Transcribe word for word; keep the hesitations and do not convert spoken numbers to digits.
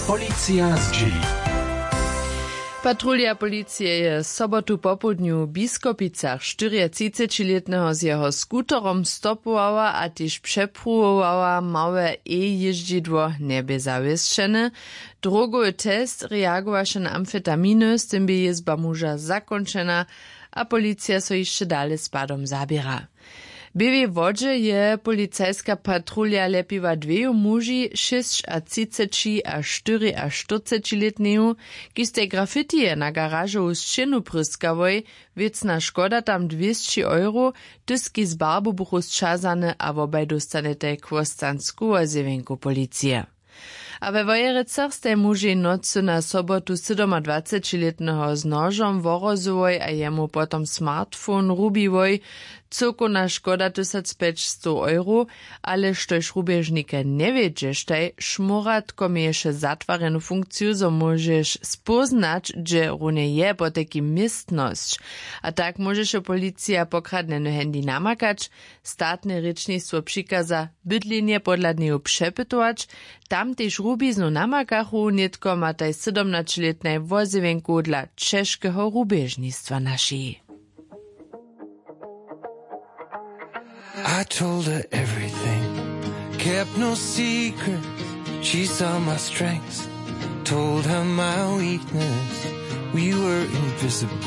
Policija zdźěli. Patrulja policije je sobotu popołdnju w Biskopicach štyriatřicećilětneho z jeho skuterom stopowała a tež přepruwowała małe e-jězdźidło, njebě zawěsćene. Drogowy test reagowaše na amfetaminy, z tym bě jězba muža zakónčena, a policija so hišće dale z padom zaběra. W Běłej Wodźe je policajska patrulja ljepiła dweju muži, šěsćatřiceći a štyriaštyrcećilětneju, kiž stej grafitije na garažowu sćěnu pryskałoj. Wěcna škoda tam dwěsći euro. Tyski z barbu buchu sćazane a wobaj dóstanetaj chłostansku wozjewjenku policije. A we Wojerecach stej mužej nocy na sobotu sydomadwacećilětneho z nožom wohrozyłoj a jemu potom smartphone rubiłoj. Cyłkowna škoda tysacpjećstow euro. Ale štož rubježnikaj njewědźeštaj, šmóratko měješe zatwarjenu funkciju, zo móžeš spóznać, hdźe runje je potajkim městnosć. A tak móžeše policija pokradnjeny handy namakać. Statne rěčnistwo přikaza bydlenje podla dnjeju přepytować. Tam tež rubiznu namakachu, nětko mataj sydomnaćelětnaj wozjewjenku dla ćežkeho rubježnistwa našej. I told her everything, kept no secrets. She saw my strengths, told her my weakness. We were invisible.